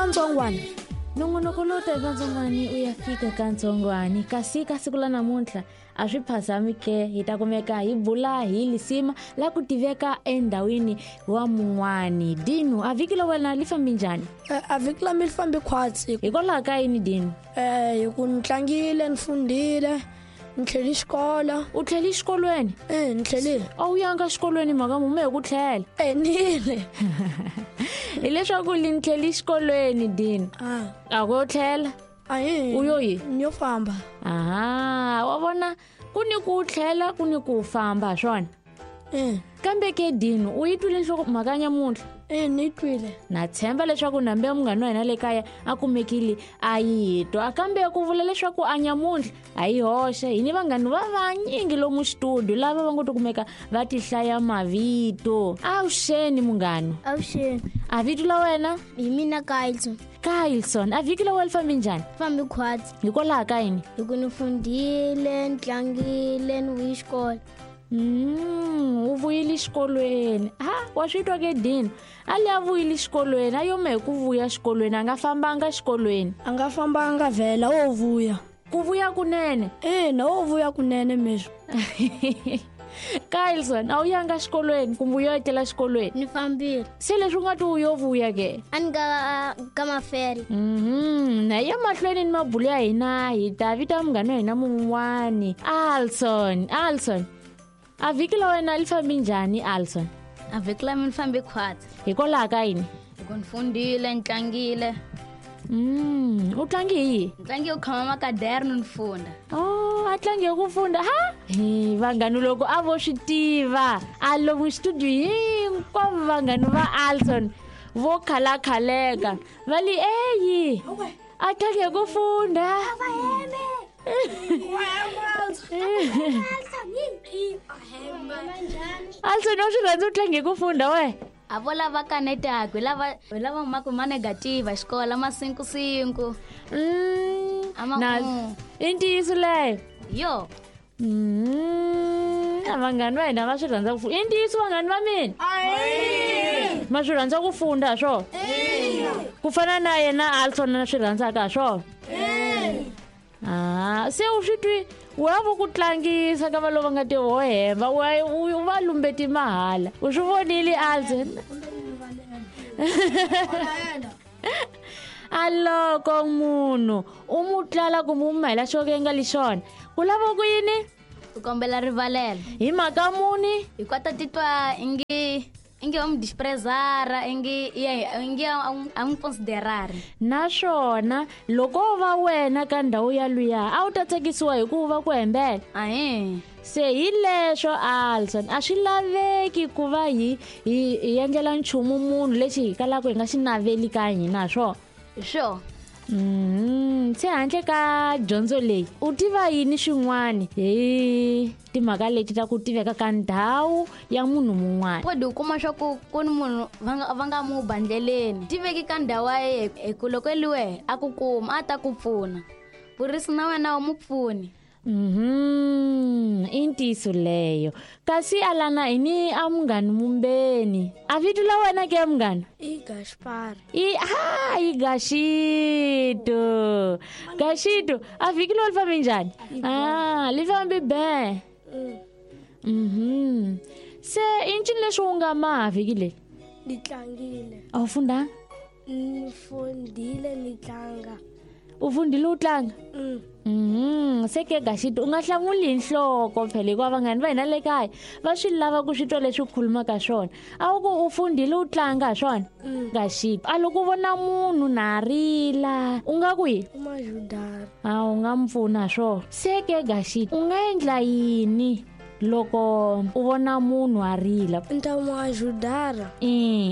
Kantsongwana. Nongonoko lowu ta hi kantsongwani u ya fika kantsongwani, kasi ka siku la namuntlha a swi phazami ke, hi ta kumeka hi bula hi lisima la ku tiveka endhawini wa mun'wani. Dinu, a vhiki la wena li fambi njhani? A vhiki la mi li fambi khwatsi. Hikwalaho ka yini, Dinu? Hi ku ni tlangile, ni fundile, ni tlheli xikolo. U tlheli xikolweni? Ni tlhelile. A wu yanga xikolweni mhaka mume hi ku tlhela? Nile. Hileswaku li ni tlheli xikolweni, Dinu. A ku yo tlhela? Ahi. U yo yi? Ni yo famba. Aha, wa vona ku ni ku tlhela ku ni ku famba swona. Kambe ke Dinu, u yi twile nhloko mhaka nyamuntlha? Ni yi twile. Na tshemba leswaku nambe ya munghana wa hina le kaya a kumekile a yi twa, kambe ku vula leswaku a nyamuntlha a yi hoxe. Hi ni vanghani va vanyingi lomu xitudio lava va ngo to kumeka va ti hlaya mavito. Avuxeni munghana. Avuxeni. A vito la wena? Hi mina Kylson. Kylson, a vhiki la wena li fambi njhani? Fambi khwatsi. Hikwalaho ka yini? Hi ku ni fundile, ni tlangile, ni vuyi xikolo. U vuyile xikolweni. Ha, wa swi twa ke Dinu? A li a vuyile xikolweni, a yome hi ku vuya xikolweni, a nga fambanga xikolweni. A nga fambanga vhela, o vuya. Ku vuya kunene? Ina, o vuya kunene meswi. Kylson, a wu yanga xikolweni kumbe u yo etlela xikolweni? Ni fambile. Se leswi u nga ti u yo vuya ke? A ni ka mafele. Na ya mahlweni ni mabulo ya hina, hi ta vita munghana wa hina mun'wani. Alson, Alson. A vhiki la wena li fambi njhani, Alson? A vhiki la mina fambi khwatsi. Hikwalaho ka yini? Hi ku ni fundile, ni tlangile. U tlangi hi yihi? Ni tlangi hi ku khoma makadere ni funda. Oh, a tlangi hi ku funda. Ha? Hi vanghani loko a vo swi tiva, a lomu studio hinkwavo vanghani va Alson vo khalakhaleka. Va li eyi. A tlangi hi ku funda. Alson, u swi rhandza u tlangi hi ku funda we? A vo lava kanetaka, hi lava humaka ma negative xikolo, ma cinco cinco. A ma Na i ntiyiso leyo? Yo. Vanghani va hina va swi rhandza ku funda. I ntiyiso vanghani va mina? Ma swi rhandza ku funda swo? Ku fana na yena Alson na swi rhandzaka swo? Se u swi twi u ya vo ku tlangisa ka va lava nga ti ho hemba, u va lumbeti mahala. U swi vonile Alson? A loko munhu u mu tlala kumbe u mu mahela xo ka nga li xona, ku lava ku yini? U kombela rivalelo. Hi mhaka muni? Hi kota titwa ingi wa mu disprezara, ingi ye, ingi a n'wi considerari. Naswona loko o va wena ka ndhawu ya luya, a wu ta tsakisiwa hi ku va ku hembela? Ahe. Se hi leswo Alson, a swi laveki ku va hi endlela nchumu munhu lexi hi kalaka hi nga xi naveli ka hina, swo? Sure. Se handle ka dyondzo leyi, u tiva yini xin'wani hi timhaka leti ta ku tiveka ka ndhawu ya munhu mun'wana? Podi u kuma swa ku ku ni munhu va nga mu ba ndleleni. Tiveki ka ndhawu ya yena, hi ku loko eliwe a ku kuma, a ta ku pfuna. Vurisi na wena u mu pfuni. I ntiyiso leyo. Kasi alana hi ni a munghani mumbeni. A vito la wena ke munghana? I Gaspar. I, ha, i Gashito. Gashito, a vhiki lo li fambi njhani? Li fambi be. Se i ncini leswi u nga maha vhiki leri? Ni tlangile. A wu fundanga? Ni fundile ni tlanga. U fundile u tlanga? Se ke Gashito, u nga hlamuli hi nhloko phela, hikuva vanghani va hina le kaya va swi lava ku swi twa leswi u khulumaka swona. A wu ku u fundile u tlanga swona? Gashito, a loko u vona munhu na rila, u nga ku yini? U majudara. A u nga mu pfuna swona. Se ke Gashito, u nga endla yini loko u vona munhu a rila? U ta mu ajudara.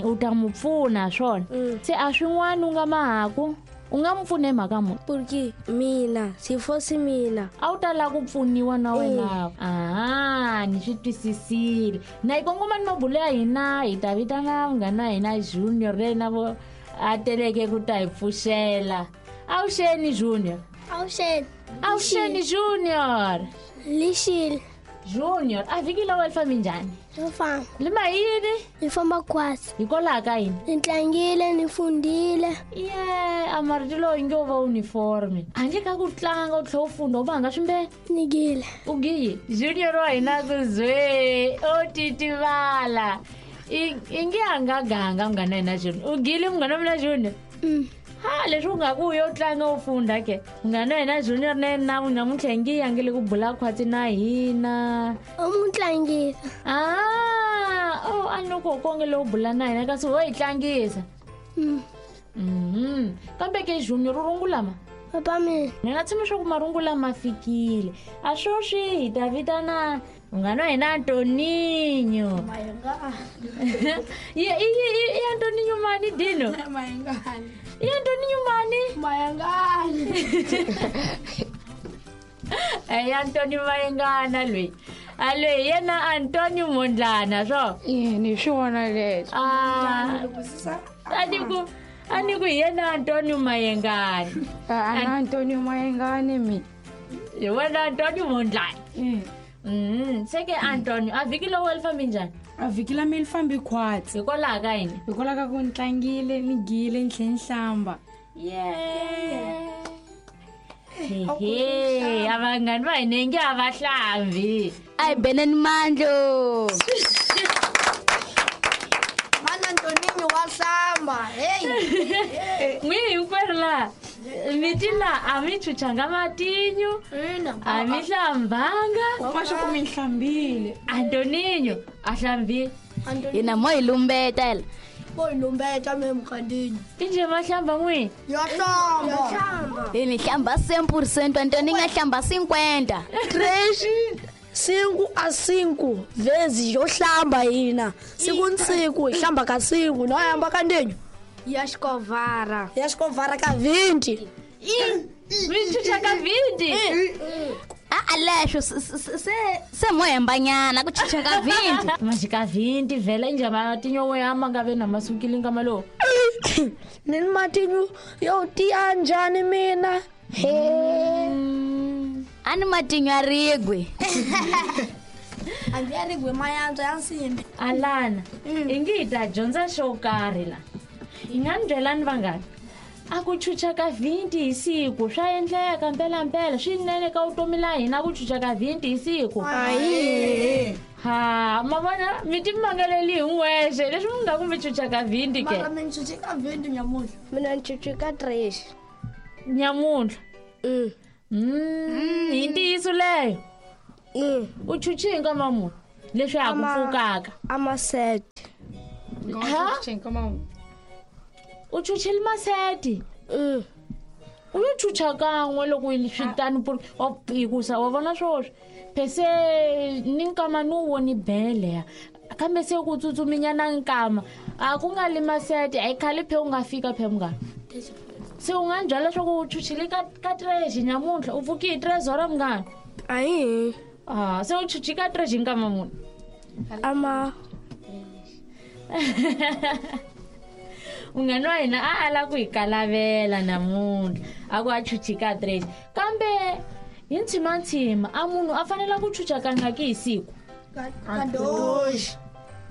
U ta mu pfuna swona. Se a swin'wana u nga mahaku? U nga mu pfuna hi mhaka muni? Porque mina, si fosse mina. A wu ta lava ku pfuniwa na wena. Aha, ni swi twisisile. Na hi kongoma ni mabulo ya hina, hi ta vitana munghana wa hina Junior leyi na vo a teleke ku ta hi pfuxela. Avuxeni Junior. Avuxeni. Avuxeni Junior. Lixile. Junior, a vhiki la wena li fambi njhani? Ri famba. Li ma yini? Li famba khwatsi. Hikwalaho ka yini? Ni tlangile, ni fundile. Yeah. a marito lowu yi nge wo va uniforme handle ka ku tlanga u tlhela u funda u vanga swimbele Nigile. U giyi junior wa hina ku zwe o titivala i nge a nga ganga munghana hina junior u gile munghana wa mina junior ha leswi u nga ku u yo tlanga u funda ke munghana wa hina junior na yena namuntlha i nge yangile ku bula khwatsi na hina U mu tlangisa. Ah, oh, a ni ku konge lowu bula na hina kasi wo hi tlangisa. Kambe ke junior u rungula ma? Papa mina. Ni nga tshemba leswaku marungula ma fikile. A sweswi hi ta vitana munghana wa hina Antoninho. I i Antoninho mani Dino? I Antoninho mani? Mayangani. I Antonio Mayengana loyi. A loyi yena Antonio Mondlana swo. Ni swona leswo. Ah. A ni ku hi yena Antonio Mayengani. A na Antonio Mayengani mi. Hi wena Antonio Mondlana. Se ke Antonio a vhiki lowu li fambi njhani? A vhiki la mi li fambi khwatsi. Hikwalaho ka yini? Hikwalaho ka ku ni tlangile ni gile ni tlhe ni hlamba. Yeah. Hehe, a vanghani va hina inge a va hlambi. A hi beneni mandlo. Mana Antoninho wa hlamba. Hey. N'wi hinkwerhu laha miti la a mi chuchanga matinyu a mi hlambanga Ma swa ku mi hlambile. Antoninho a hlambile. Hina mo hi lumbeta la. Mo hi lumbeta me mukhandini. Inje ma hlamba n'wi? Ya hlamba. Hi ni hlamba 100%, Antoninho a hlamba 50. Três, cinco a cinco vezes yo hlamba hina. Siku ni siku hi hlamba ka cinco, no hamba ka ndinyo. Ya xikovara. Ya xikovara ka 20. Mi chucha ka 20? A leswo se mo hembanyana ku chucha ka 20. Majika 20 vhela inje matinyo wo ya ma nga ve na masukile nkama lowu. Ni matinyo yo tiya njhani mina? He. A ni matinyo ya rigwe. Hambi ya rigwe mayantswa ya nsimbi. Alana, i nge hi ta dyondza xo karhi la. Hi nga ni byelani vanghani? A ku chucha ka 20 hi siku swa endleka mpelampela swinene ka vutomi la hina ku chucha ka 20 hi siku. Ha, ma vona mi ti mangaleli hi n'wexe leswi mi nga ku mi chucha ka 20 ke. Mara mi chuche ka 20 nyamuntlha. Mina ni chuche ka 3. Nyamuntlha. Hi ntiyiso leyo. U chuche hi nkama muni leswi ha ku pfukaka? Ama set. Ha? U chuchile maseti? U yo chucha kan'we loko swi tani hikusa wa vona swoswi phese ni nkama ni wu voni bele ya kambe se ku tsutsuminyana nkama a ku nga li maseti a yi khale phe u nga fika phe munghana. Se u nga ni byela leswaku u chuchile ka 3 nyamuntlha u pfuki hi 3 hora munghana? Ayi. Ah, se u chuchi ka 3 nkama muni? Ama. Munghana wa hina a ala ku hi kalavela namuntlha a ku a chuchi ka 3 kambe hi ntshimantsima a munhu a fanele ku chucha kangaki hi siku? Ka 2.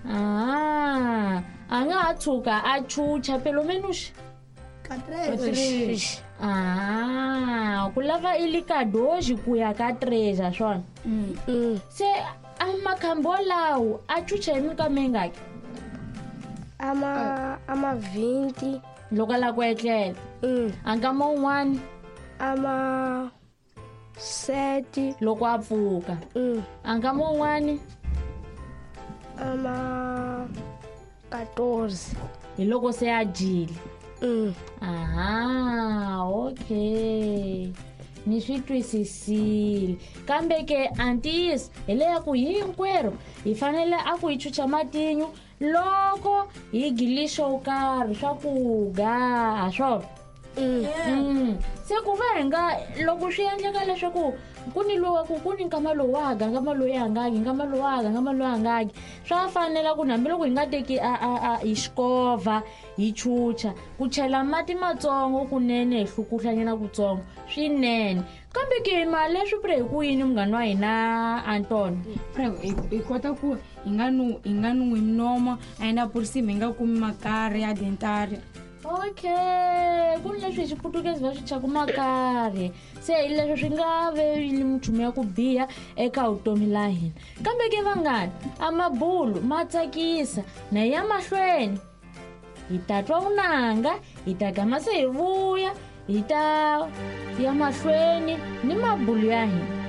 Ah, a nga ha tshuka a chucha pelo menos Ka 3. Ah, ku lava i li ka 2 ku ya ka 3 a swona. Se a makhambo lawo a chucha hi minkama yingaki? Ama 20. Loko a lava ku etlela. A nkama wun'wani? Ama 7. Loko a pfuka. A nkama wun'wani? Ama 14. Hi loko se a dyile. Aha, okay. Ni swi twisisile. Kambe ke a ntiyiso hi leya ku hinkwerhu hi fanele a ku hi chucha matinyu loko hi gile xo karhi swakudya ha swona. Se ku va hi nga loko swi endleka leswaku ku ni lowa ku ni nkama lowu wa ga nkama lowu ya hangaki nkama lowu wa ga nkama lowu ya hangaki swa fanela ku hambiloko hi nga teki a hi xikovha hi chucha ku chela mati matsongo kunene hi hlukuhlanyana kutsongo swinene. Kambe ke mali leswi pre hi ku yini munghana wa hina Anton? Pre hi kota ku hi nga nwi minoma a yi na purisima hi nga kumi makari ya dentari. Okay, ku ni leswi hi xiputukezi va swi thyaka makarhi se hi leswo swi nga ve li minchumu ya ku biha eka vutomi la hina kambe ke vanghani a mabulu ma tsakisa na ya mahlweni hi ta twa vunanga hi ta gama se hi vuya hi ta ya mahlweni ni mabulu ya hina.